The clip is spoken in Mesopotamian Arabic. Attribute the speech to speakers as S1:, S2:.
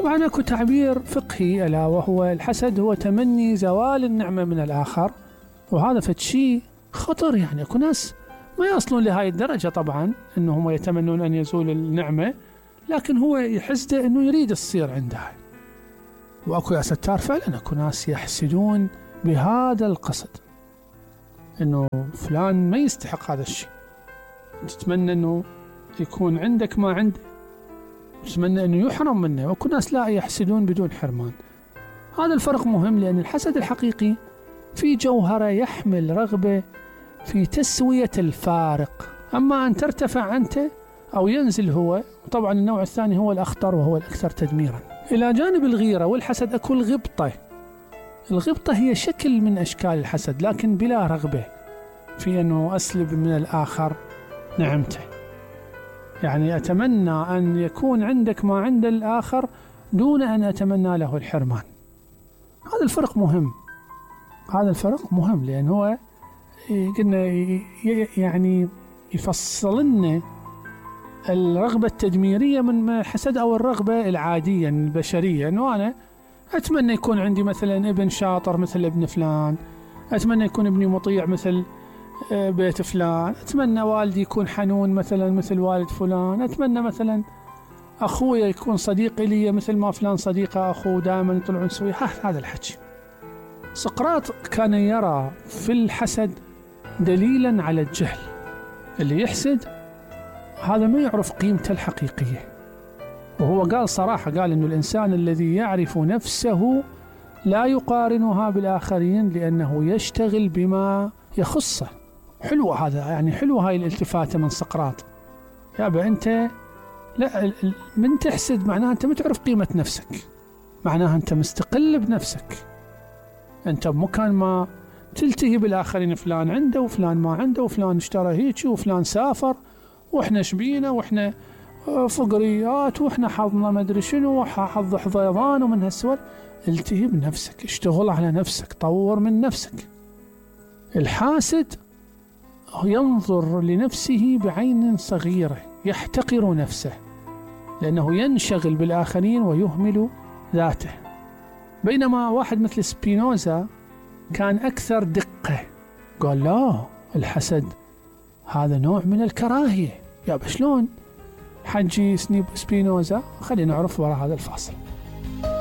S1: طبعا اكو تعبير فقهي ألا وهو الحسد هو تمني زوال النعمة من الآخر، وهذا فد شيء خطر. يعني اكو ناس ما يصلون لهاي الدرجة طبعا انهم يتمنون ان يزول النعمة، لكن هو يحسده انه يريد تصير عنده. واكو يا ستار فعلا اكو ناس يحسدون بهذا القصد، انه فلان ما يستحق هذا الشيء، تتمنى انه يكون عندك ما عنده، تتمنى انه يحرم منه. واكو ناس لا يحسدون بدون حرمان. هذا الفرق مهم، لان الحسد الحقيقي في جوهره يحمل رغبة في تسوية الفارق، اما ان ترتفع انت او ينزل هو. طبعا النوع الثاني هو الاخطر وهو الاكثر تدميرا. الى جانب الغيرة والحسد اكو الغبطة. الغبطة هي شكل من اشكال الحسد، لكن بلا رغبة في انه اسلب من الاخر نعمته. يعني أتمنى أن يكون عندك ما عند الآخر دون أن أتمنى له الحرمان. هذا الفرق مهم، هذا الفرق مهم، لأن هو قلنا يعني يفصل لنا الرغبة التدميرية من الحسد، أو الرغبة العادية البشرية، أنه أنا أتمنى يكون عندي مثلا ابن شاطر مثل ابن فلان، أتمنى يكون ابني مطيع مثل بيت فلان، أتمنى والدي يكون حنون مثلا مثل والد فلان، أتمنى مثلا أخويا يكون صديق لي مثل ما فلان صديقه أخوه، دائما يطلعون سوي. هذا الحكي. سقراط كان يرى في الحسد دليلا على الجهل. اللي يحسد هذا ما يعرف قيمته الحقيقية. وهو قال صراحة، قال إنه الإنسان الذي يعرف نفسه لا يقارنها بالآخرين لأنه يشتغل بما يخصه. حلوة هذا، يعني حلوة هاي الالتفاتة من سقراط. يابا أنت لا، من تحسد معناها أنت ما تعرف قيمة نفسك، معناها أنت مستقل بنفسك، أنت بمكان ما تلتهي بالآخرين. فلان عنده وفلان ما عنده، وفلان اشترى هيك وفلان سافر، وإحنا شبينا وإحنا فقريات وإحنا حظنا ما أدري شنو وحظ حضيضان ومن هالسوال. التهي بنفسك، اشتغل على نفسك، طور من نفسك. الحاسد ينظر لنفسه بعين صغيرة، يحتقر نفسه لأنه ينشغل بالآخرين ويهمل ذاته. بينما واحد مثل سبينوزا كان أكثر دقة، قال لا، الحسد هذا نوع من الكراهية. يا شلون حجي سبينوزا؟ خلينا نعرف وراء هذا الفاصل.